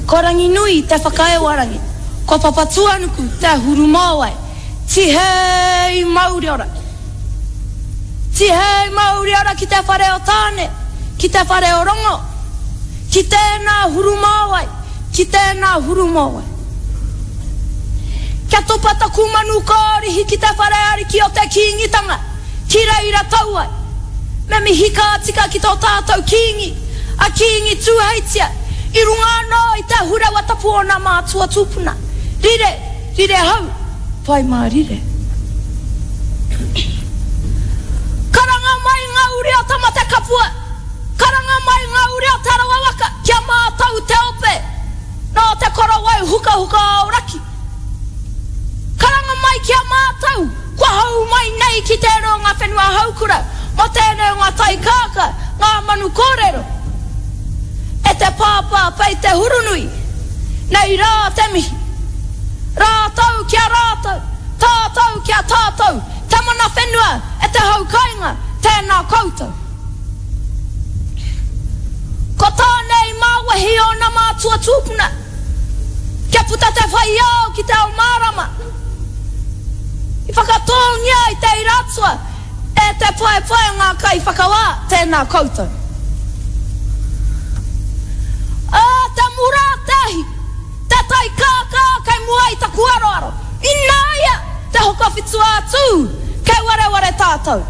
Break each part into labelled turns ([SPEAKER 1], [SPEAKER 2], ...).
[SPEAKER 1] Ko Ranginui te whakaewarangi, ko Papatūānuku te hurumāwai, Tihei mauri ora! Tihei mauri ora ki te whare o Tāne, ki te whare o Rongo, ki tēnā hurumāwai, ki tēnā hurumāwai. Kia topa taku manu kōrihi ki te whare ariki o te Kīngitanga, ki reira tau ai. Me mihi ka tika ki tō tātou Kīngi, a Kīngi Tūheitia, i runga anō i te ahurewa tapu o nā mātua tūpuna. Rire, rire hau, pai mārire. Karanga mai ngā uri o Tamatekapua, karanga mai ngā uri o Te Arawa waka kia mātau te ope nō te korowai hukahuka Aoraki. Karanga mai ki a mātou kua hou mai nei ki tērā o ngā whenua haukura mō tēnei o ngā tai kākā, ngā manu kōrero. E te pāpā pei te hurunui, nei rā te mihi. Rātou ki a rātou, tātou ki a tātou, te mana whenua e te hau kainga, tēnā koutou. Ko Tāne i māwehi ōna mātua tūpuna, kia puta te whai ao ki te ao mārama. I whakatōngia i te ira atua e te paepae o ngā kaiwhakawā, tēnā koutou. Ā, te mura a te ahi, te tai kākā kei mua i taku aroaro, ināia te Hokowhitu-ā-Tū, kei wareware tātou.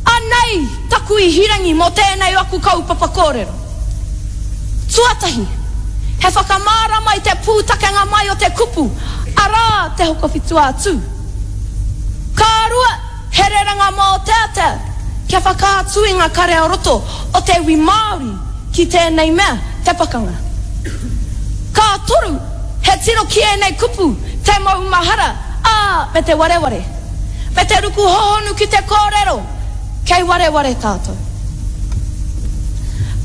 [SPEAKER 1] Anei taku ihirangi mō tēnei o aku kaupapa kōrero. Tuatahi, he whakamārama i te pūtakenga mai o te kupu, arā, te Hokowhitu-ā-Tū. Ka rua, he rerenga mōteatea kia whakaatu i ngā kare ā-roto o te iwi Māori ki tēnei mea, te pakanga. Ka toru, he tiro ki ēnei kupu, te maumahara, ā, me te wareware. Me te ruku hohonu ki te kōrero, kei wareware tātou.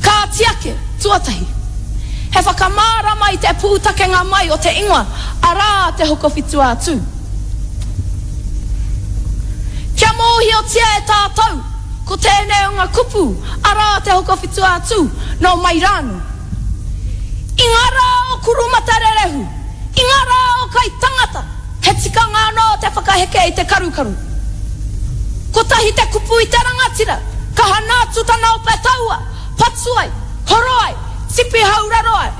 [SPEAKER 1] Kāti ake, tuatahi, he whakamārama i te pūtakenga mai o te ingoa, arā, te Hokowhitu-ā-Tū. Kia mōhiotia e tātou, ko tēnei o ngā kupu, arā, te Hokowhitu-ā-Tū, nō mai rānō. I ngā rā o Kurumatarerehū, i ngā rā o Kaitangata, he tikanga anō te whakaheke i te karukaru. Kotahi te kupu i te rangatira, ka hana atu tana ope taua, patu ai, horo ai, tipi hauraro ai.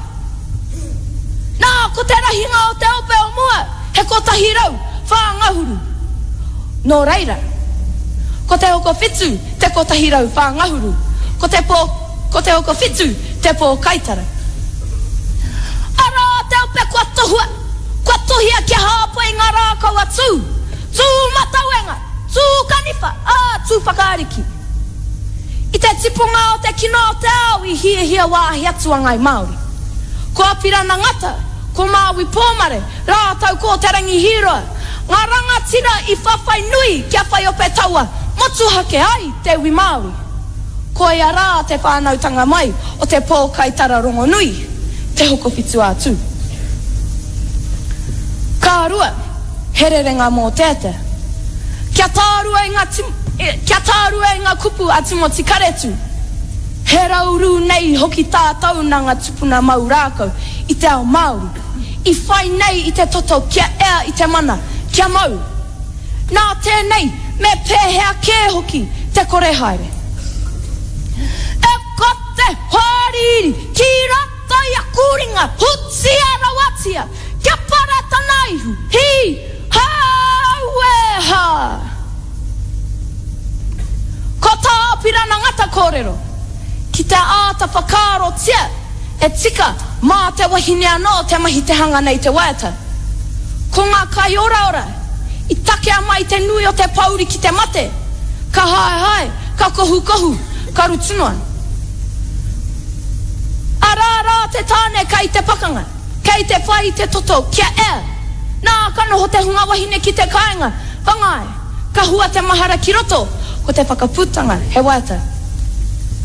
[SPEAKER 1] Nā, ko te rahinga o te ope o mua, he 104 ngahuru. Nō reira, ko te hokowhitu te 104 ngahuru, ko te pō, ko te hokowhitu te pōkaitara. Arā te ope kua tohua, kua tohia kia hāpai i ngā rākau a Tū, Tū matauenga, Tū kaniwha, ā, Tū whakaariki. I te tipunga o te kino o te ao i hiahia wāhi atu a Ngāi Māori. Ko Apirana Ngata, ko Māui Pōmare, rātou ko Te Rangi Hīroa, ngā rangatira i whawhai nui kia whai ope taua motuhake ai te iwi Māori. Koia rā te whānautanga mai o te pōkaitara rongonui, Te Hokowhitu-a-Tū. Ka rua, he rerenga mōteatea. Kia tārua i ngā Kia tārua i ngā kupu a Timoti Karetu, He raurū nei hoki tātou nā ngā tupuna mau rākau i te ao Māori, i whai nei i te toto kia ea i te mana, kia mau. Nā tēnei, me pēhea kē hoki te kore haere. E ka te hoariri ki roto i aku ringa, hutia rawatia, kia para tana ihu, hī, hā, aue, hā. Ko tā Apirana Ngata kōrero, ki te āta whakaarotia e tika mā te wahine anō te mahi te hanga nei te waiata. Ko ngā kaioraora i takea mai te nui o te pōuri ki te mate, ka haehae, ka kohukohu, ka rutu noa. Arā rā te tāne kai te pakanga. Kei te whai i te toto kia ea. Nā, ka noho te hunga wahine ki te kāinga, whangai, ka hua te mahara ki roto, ko te whakaputanga he waiata.